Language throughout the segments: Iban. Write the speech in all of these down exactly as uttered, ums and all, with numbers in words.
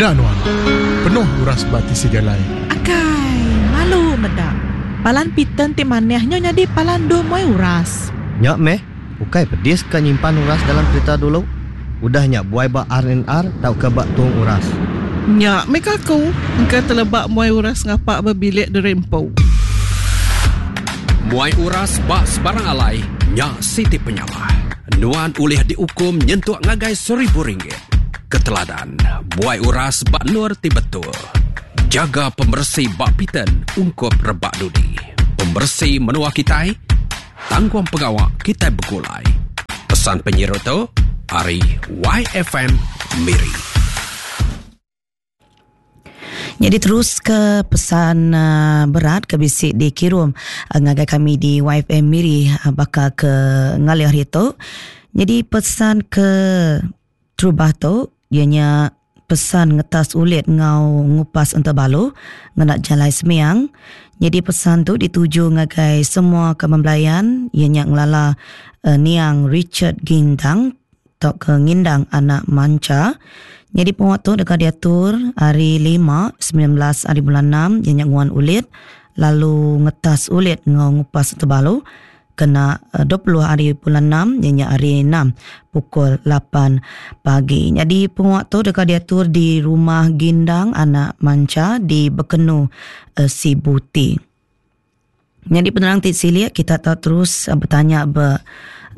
Peda nuan, penuh uras ba tisi jalai. Akai, malu meda. Palan Pitan ti manah nya nyadi palan endur muai uras. Nya meh, ukai pedis ka nyimpan uras dalam kerita dulu. Udah nya buai ba R and R tauka ba tung uras. Nya meh ka aku, engka teleba muai uras ngapa ba bilik diri empu. Muai uras ba sebarang alai, nya siti penyalah. Nuan ulih diukum nyentuk ngagai seribu ringgit. Keteladan, buai uras ba nur ti betul. Jaga pemersi bak piten ungkup rebak dudi. Pemersi menua kitai, tanggung pengawak kita bergulai. Pesan penyiru tu, ari Y F M Miri. Jadi terus ke pesan uh, berat ke bisi dikirim uh, ngagai kami di Y F M Miri uh, bakal ke ngalih hari tu. Jadi pesan ke terubah tu ianya pesan ngetas ulit ngau ngupas entabalu ngena jalai semiang. Jadi pesan tu dituju ngagai semua kemembelayan ianya ngelala uh, niang Richard Gindang atau ke ngindang anak manca. Jadi penguat tu dekat diatur hari lima sembilan belas hari bulan enam ianya nguan ulit lalu ngetas ulit ngau ngupas entabalu kena dua puluh hari bulan enam ianya hari enam pukul lapan pagi. Jadi penguat tu dekat diatur di rumah Gindang anak manca di Bekenu uh, Sibuti. Jadi penerang ti silik kita tahu terus uh, bertanya be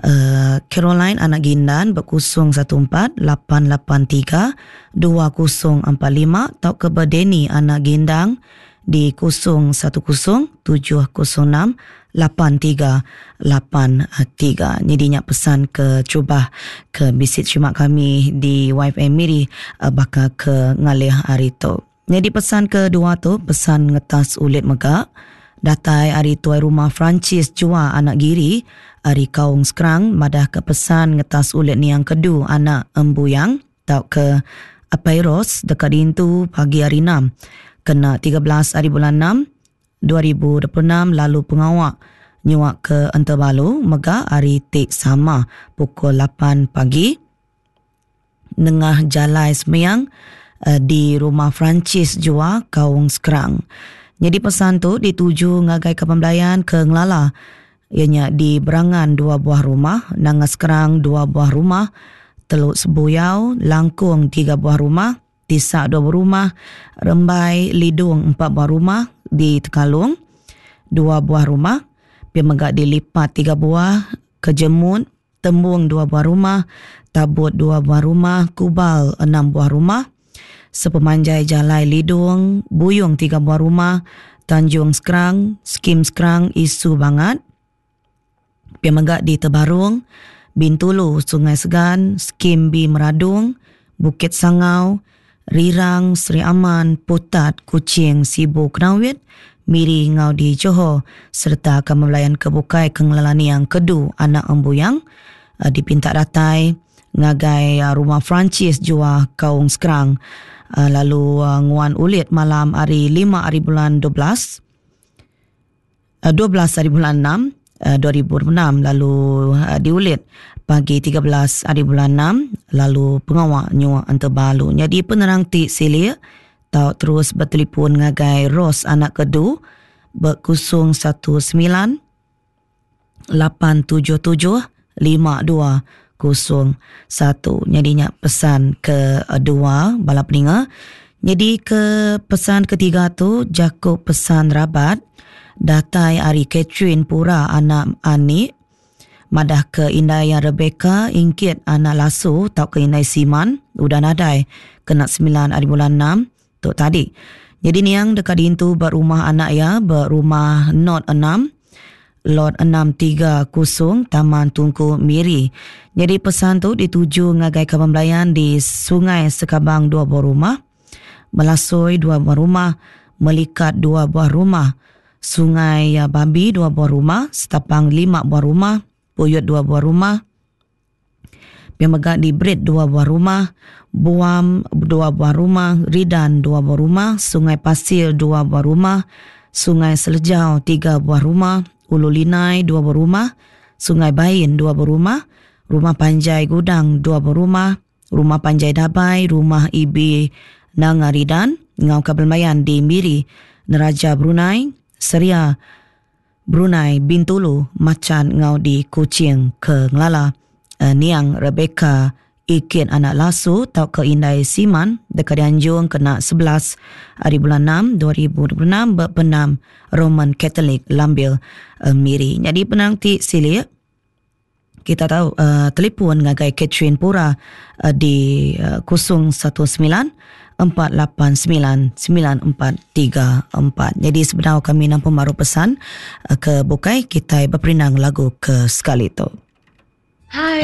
Uh, Caroline anak Gindan berkosong satu empat lapan lapan tiga dua kosong empat lima atau ke Berdeni anak Gindang di kosong satu kosong tujuh kosong enam lapan tiga lapan tiga. Jadi nyak pesan ke cubah ke bisit cuma kami di Y F M Miri bakal ke ngalih hari tu. Jadi pesan kedua tu pesan ngetas ulit mega datai hari tuai rumah Francis Jua anak Giri hari Kaung Sekerang madah ke pesan ngetas ulit niang kedu anak Embuyang tau ke Apairos dekat dintu pagi hari enam kena tiga belas hari bulan enam dua ribu dua puluh enam lalu pengawak nyuak ke Entebalu mega hari tik sama pukul lapan pagi nengah jalai semiang di rumah Francis Jua Kaung Sekerang. Jadi pesan tu dituju ngagai ke pembelayan ke Ngelala ianya di Berangan dua buah rumah, Nanga Sekerang dua buah rumah, Teluk Sebuyau, Langkung tiga buah rumah, Tisak dua buah rumah, Rembai Lidung empat buah rumah, di Tekalung dua buah rumah, Pia mega di Lipat tiga buah, Kejemut, Tembung dua buah rumah, Tabut dua buah rumah, Kubal enam buah rumah, Sepemanjai Jalai Lidung, Buyung tiga buah rumah, Tanjung Sekerang, Skim Sekerang, Isu Bangat, Pia mega di Tebarung, Bintulu, Sungai Segan, Skim B Meradung, Bukit Sangau, Rirang, Sri Aman, Putat, Kuching, Sibu, Kenawit, Miri ngau di Johor serta akan melayan kebukai kengelalani yang kedu anak Embuyang uh, dipinta datai ngagai uh, rumah Francis Jua Kaung Sekerang uh, lalu uh, nguan ulit malam hari lima hari bulan dua belas uh, dua belas hari bulan enam uh, dua ribu enam lalu uh, diulit pagi tiga belas hari bulan enam lalu pengawak nyua Entebalu. Jadi penerang ti silik tau terus bertelefon ngagai Ros anak kedu berkusung satu sembilan lapan tujuh tujuh lima dua kosong satu. Jadi nyak pesan kedua bala peninga. Jadi ke pesan ketiga tu Jacob pesan rabat datai ari Catherine Pura anak Anik madah ke indai yang Rebecca ingkit anak Lasu tau ke indai Siman udah nadai kena sembilan hari bulan enam tu tadi. Jadi niang dekat dintu berumah anak ya berumah Not enam Lot enam tiga kosong Taman Tungku Miri. Jadi pesan tu dituju ngagai kepembelayan di Sungai Sekabang dua buah rumah, Melasoi dua buah rumah, Melikat dua buah rumah, Sungai Babi dua buah rumah, Setapang lima buah rumah, Puyut dua buah rumah, Pemegak di Brit dua buah rumah, Buam dua buah rumah, Ridan dua buah rumah, Sungai Pasir dua buah rumah, Sungai Selejau tiga buah rumah, Ulu Linai dua buah rumah, Sungai Bain dua buah rumah, Rumah Panjai Gudang dua buah rumah, Rumah Panjai Dabai, Rumah Ibi Nanga Ridan ngau Kabelmayan di Miri, Neraja Brunei, Seria Brunei, Bintulu, Macan ngau di Kuching ke ngelala uh, Niang Rebecca Ikin anak lasu tau ke Indai Siman dekat dianjung kena sebelas hari bulan enam dua ribu dua puluh enam berpenam Roman Catholic Lambil uh, Miri. Jadi penang ti silik kita tahu uh, telefon ngagai Catherine Pura uh, di uh, kosong satu sembilan empat lapan sembilan sembilan empat tiga empat. Jadi sebenarnya kami nampak baru pesan uh, ke bukai kita berperinang lagu ke sekali tu. Hai.